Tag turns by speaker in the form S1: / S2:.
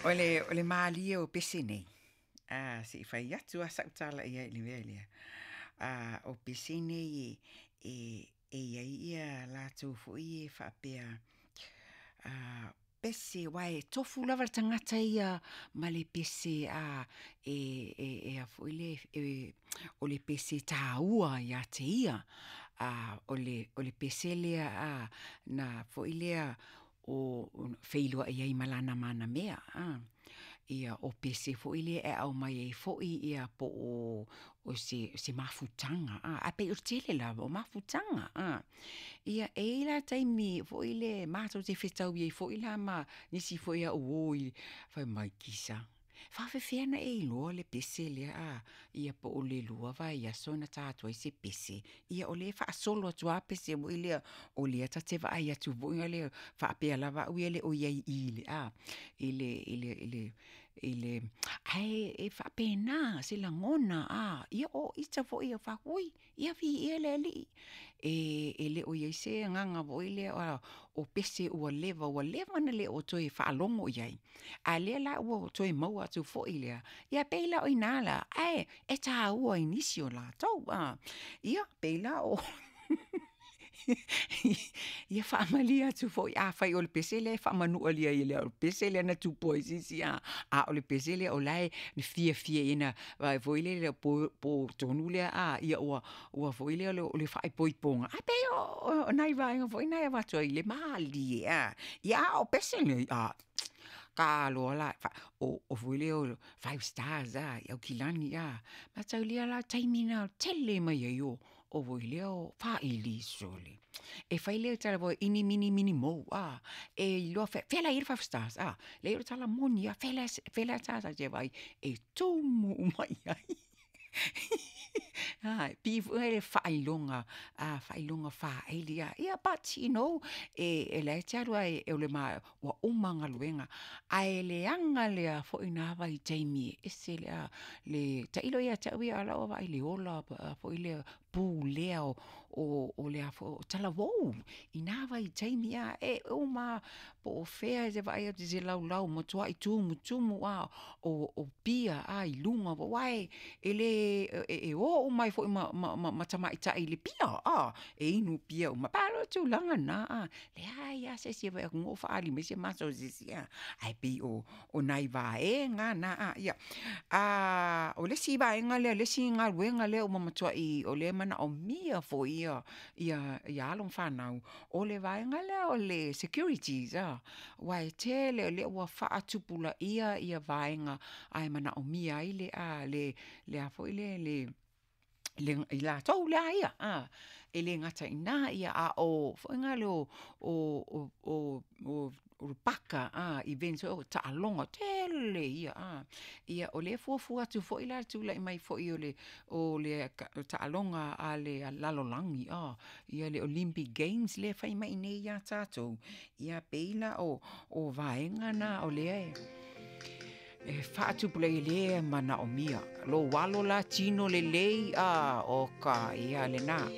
S1: O le malie o pese nei, se i fai atu lava sau tala i ai i le mea lea, o pese nei e i ai latou foi ia faapea pese aua e tofu lava le tagata ia ma le pese e a foi lea o le pese taua ia te ia. O le pese lea na foi lea o feiloai ai ma lana manamea. Ia o pese foi lea e aumai ai foi po o se mafutaga, ae pei o le tele lava o mafutaga. Ia e i ai la taimi foi lea matou te fetaui ai foi la ma nisi foi au uo fai mai, Kisa, e faapefea ona e iloa le pese lea ia po o le 2 vaiaso na ta atu ai se pese, ia o lea e faasolo atu lava pese foi lea, o lea ta te vaai atu foi lea faapea lava au ia e le o i ai i i i le ae e faapena se lagona, ia o ita foi e fai atu, oi, ia viia le Alii. E le o i ai se agaga foi lea o pese ua leva ona le toe faalogo i ai, a o lea la ua toe maua atu foi lea, ia pei la o i ina lea, ae e taua i nisi o latou. Ia, pei la o Ia faamalie atu foi afai o le pese lea e faamanualia e le o le pese lea na tupu ai se isi, a o le pese lea o la e fiafia ina foi lele po tonu lea ua foi lea o le faaipoipoga, ae pei o nai vaega foi na e avatu ai i le malie, ia a o pese nei, taloa la, o foi lea o five stars i Aukilani, mataulia la le taimi lena o le tele mai ai o faili, sole, e fai le tala foi lea, ini, mini, mini mo, e iloa o fea la e i ai le five stars, leai o le tala moni lava, o fea la tatou te vaai e tumu uma i ai. E pei foi lea o faailoga faili, ia but you know, o la e te alu lava ua uma galuega, ae leaga lea foi na vaitaimi e ese le... Tailo ia te au ia i lau vaai i le ola foi lea pulea o talavou i na vaitaimi, e uma lava po o fea e te vaai atu i se laulau, ua matuai tumutumu lava o pia i luga, aua e o uma ai foi ma tamaitai i le pia, e inu pia uma, e pei o le tulaga lena, e leai lava se isi e fai atu o faaali mai se maso i se isi, ae pei o nai vaega na. O le isi vaega lea o le isi galuega lea ua matuai o lea e manaomia foi alo ma fanau, o le vaega lea o le securities, aua e tele, o lea ua faatupulaia vaega ae manaomia ai i latou la ia, e le gata i ina, a o paka, events foi lea o taaloga, tele ia. Ia o lea e fuafua atu foi la i le tulai mai foi o le taaloga a le lalolagi le Olympic Games lea e fai mai i inei ia tatou, ia pei la o vaega na o lea e faatupulaia, lea e manaomia. Lou alo la tino lelei, o ka ia lena.